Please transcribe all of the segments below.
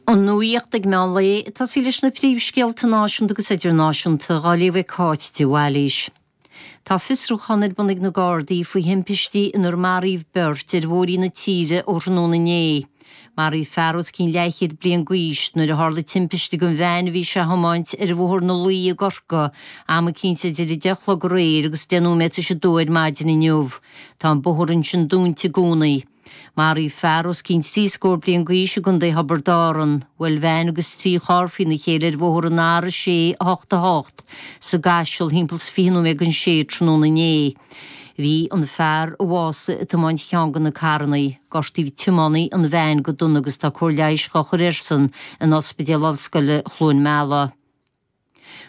An nuacht ag meán lae, ag tosaí leis na príomhscéalta náisiúnta agus idirnáisiúnta, dhá léamh ag Cáit de Bhailís. Tá fiosrúchán ar bun ag na Gardaí faoi thimpistí inar maraíodh beirt ar bhóithrí na tíre ó thráthnóna inné. Maraíodh fear os cionn leathchéad bliain d'aois nuair a tharla timpiste don veain a bhí sé a thiomáint ar Bhóthar na Laoi i gCorcaigh am eicínt idir 10 a chlog aréir agus 10 nóiméad tar éis a dó ar maidin inniu. Tá an bóthar ansin dúnta i gcónaí. Maraíodh fear os cionn trí scór bliain d'aois i gContae Thiobraid Árann. Bhuail veain agus 3 charr faoina chéile ar bhóthar an R6 8 8 sa gCaiseal thimpeall 's 20 nóiméad don sé tráthnóna inné. Bhí an fear a bhásaigh ag tiomáint cheann de na carrannaí. Gortaíodh tiománaí an veain go dona agus tá cóir leighis dhá chur airsean in Ospidéal Ollscoile Chluain Meala.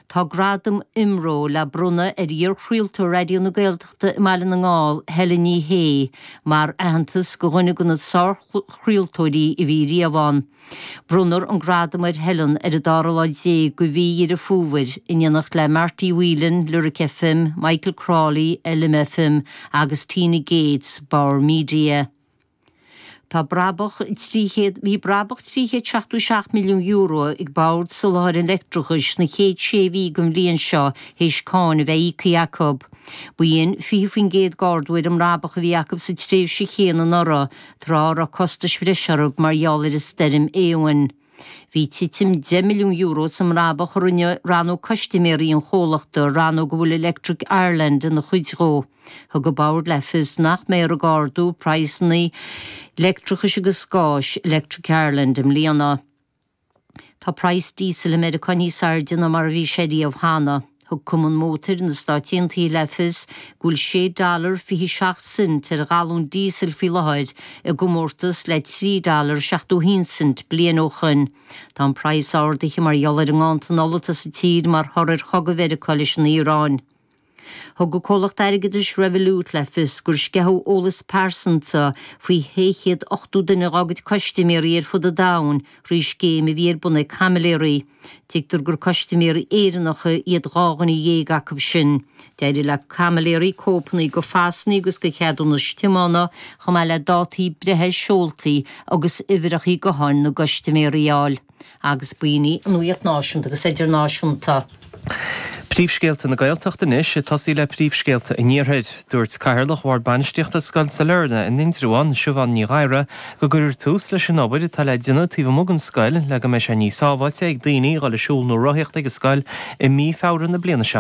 Tá Gradam IMRO le bronnadh ar iar-chraoltóir Raidió na Gaeltachta i mBaile na nGall, Helen Ní Shé, mar aitheantas do dhuine de na sárchraoltóirí a bhí riamh ann. Bronnfar an gradam ar Helen ar an dara lá déag de mhí Dheireadh Fómhair, in éineacht le Marty Whelan, Lyric FM, Michael Crawley, LMFM, agus Tina Gates, Bauer Media. Tá brabach 300, bhí brabach €377 milliún ag Bord Soláthair an Leictreachais sna chéad sé mhí den bhliain seo théis cáin a bheith íoctha acu. B'shin 20% d'ardú ar an mbrabach a bhí acu sa tréimhse chéanna anuraidh, tráth a raibh costais bhreise orthu mar gheall ar an stoirm Éowyn. Bhí titim €10 milliún sa mbrabach a rinne rannóg custaiméirí an chomhlachta, rannóg a bhfuil Electric Ireland ina chuid dhó. Thug an Bord le fios nach mbeifear ag ardú praghsanna leictreachais agus gáis Electric Ireland i mbliana. Tá praghas díosail i Meiriceá níos airde ná mar a bhí sé riamh cheana. Thug Cumann Mótair na Stáit Aontaithe le fios go bhfuil sé dollar 27 cent ar ghalún díosail faoi láthair i gcomórtas le 3 dollar 71 cent bliain ó shoin. Tá an praghas ardaithe mar gheall ar an nganntan ola atá sa tír mar thoradh ar chogadh Mheiriceá leis an Iaráin. Thug an comhlacht airgeadais Revolut le fios gur sceitheadh eolas pearsanta faoi 680 duine dá gcuid custaiméirí ar fud an domhain thrí scéim a bhí ar bun ag caimiléirí. Tuigtear gur custaiméirí Éireannacha iad 12 dhuine acu sin. D'éirigh le caimiléirí cóipeanna de phasanna agus de cheadúnais tiomána, chomh maith le dátaí breithe, seoltaí agus uimhreacha gutháin na gcustaiméirí a fháil. Agus b'in í an nuacht náisiúnta agus idirnáisiúnta. Príomhscéalta na Gaeltachta anois, ag tosaí le príomhscéalta an Iarthair. Dúirt Cathaoirleach Bhord Bainistíochta Scoil Sailearna in Indreabhán, Siubhán Ní Ghadhra, go gcuirfear tús leis an obair atá le déanamh taobh amuigh den scoil le go mbeidh sé níos sábháilte ag daoine a dhul ag siúl nó rothaíocht ag an scoil i mí Feabhra na bliana seo.